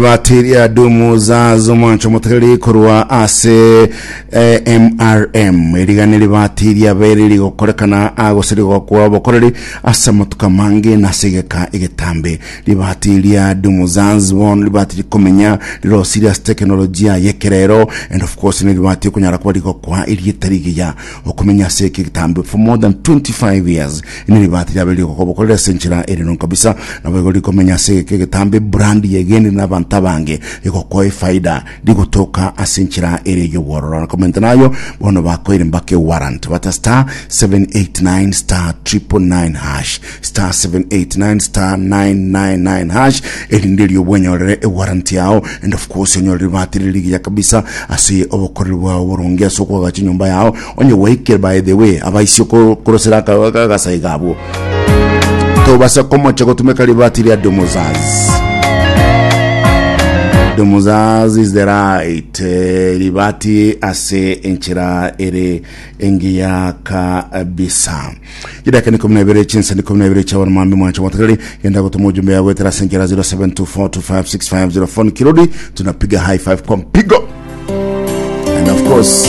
Batiria dumu zazo mwancho motegereri korwa ase eh, MRM erigane ribatiria bere rigokorekana agose rigokwa obokoreri ase amatuko amange na ase egeka egetambe. Ribatiria dumu zaz bono ribati rikomenya rirosirie ase teknolojia y'ekerero and of course neribati okonyara kuba rigokwa erieta rigiya okomenya ase eke egetambe for more than 25 years Neribati riabe rigokobokorera ase enchera ere nongo kabisa, naboigo rikomenya ase egeka egetambe brand yegenire nabanto abange, rigokoa efaida, rigotoka ase enchera ere y'obwororo. Na komenta nayo, bono bakoire mpaka ewarrant. Bata star 789 star 999 hash, star 789 star 999 hash, erinde erio bwenyorere ewarrant yao, and of course onyore ribati rire rigiya kabisa ase obokoreri bwao boronge ase okoagacha enyomba yao, Onye gwaikire by the way abaisio korosera agasaiga abwo tobasa komocha gotumeka ribati ria domozaz domozaz is the right eh, ribati ase enchera ere engiya kabisa chidaka ni 12 chinsa ni 12 cha wana mambi mwancho mwatakali genda gutuma ujumbe yawe tera ase enchera 0724256504 kirodi tunapiga high five kwa mpigo And of course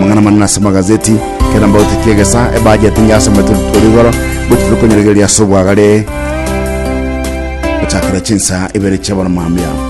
mang'ana manene ase amagazeti kera mbauti kiegesa ebudget ngasomete rituko rigoro gochi tokonyeregeria ase obwagare gochakera chinsa ibere chia bono mambia.